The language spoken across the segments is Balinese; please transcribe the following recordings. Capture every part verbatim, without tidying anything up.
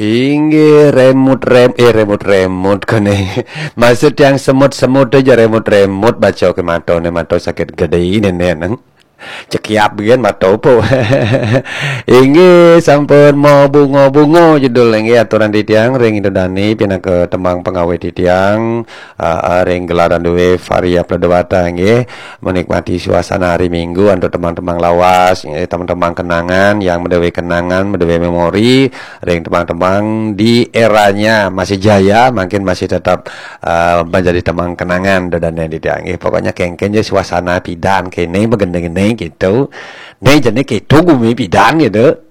Inggih, remut-rem-, eh, remut-remut kene. Maksud yang semut-semut aja remut-remut, baca ke matane, mata sakit gede ini, neng. Cekiap bikin mata opo. Inggih, sampun mau bunga-bunga judul inggih aturan titiang ring Indo Dani pinaka tembang pengawit titiang. Ah, ah, ring gelaran duwe Varia Pledewata nggih, menikmati suasana hari Minggu antuk tembang-tembang lawas, nggih, tembang-tembang kenangan yang menduwe kenangan, menduwe memori, ring tembang-tembang di eranya masih jaya, mungkin masih tetap, ah, menjadi tembang kenangan, Indo Dani nggih. Pokoknya kengken je suasana pidan kene begene-gene gitu. Ne jane gitu gumi pidan gitu.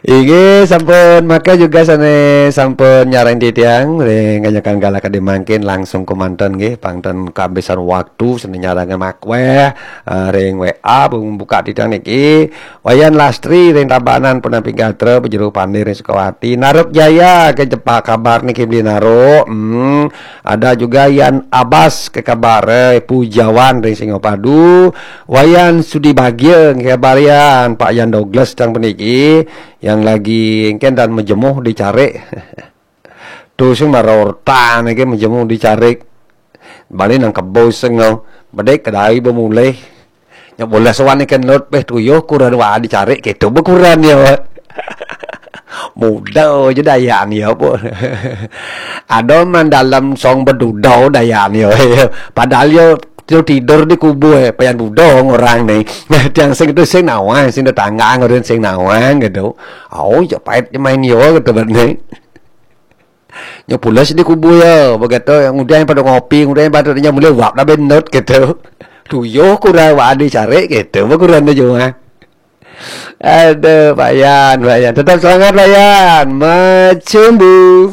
Inggih, sampun maka juga sane sampun nyareng titiang ring kanyakan galak kadi mangkin langsung kemanten nggih, pangten kabisan waktu sane nyareng makweh, eh, ring W A buka titiang niki. Wayan Lastri ring Tabanan punapi gatra, Pejero Pande ring Sukawati, Naruk Jaya ke jepak kabar niki beli Naruk. Hmm, ada juga Yan Abas ke kabar, eh, Pujawan ring Singapadu, Wayan Sudi Bagia nggih, kabar Yan, Pak Yan Douglas tang puniki yang lagi engken dan mejemuh di carik. Tuh sing mara ortan iki mejemuh di carik. Bali nang kebo sing, bedek kedai bemulih. Nya bola sowan iki nut peh tuyuh kuran wa di carik keto bekuran ya. Muda aja dayan ya apa. Ada man dalam song beduda dayan ya. Padahal ya tidur, tidur di kubu, eh, payan budong orang ni. Tiang sing tu sing nawang, sing tetangga ngurun sing nawang gitu. Oh, ya pait je main yo gitu bet ni. Nya pulas di kubu ya, begitu yang udah pada ngopi, udah pada nya mulai wap dah benut gitu. Tuyuh kurang wa di carik gitu, bekuran tu cuma. Aduh, Pak Yan, Pak Yan. Tetap semangat, Pak Yan. Macumbu.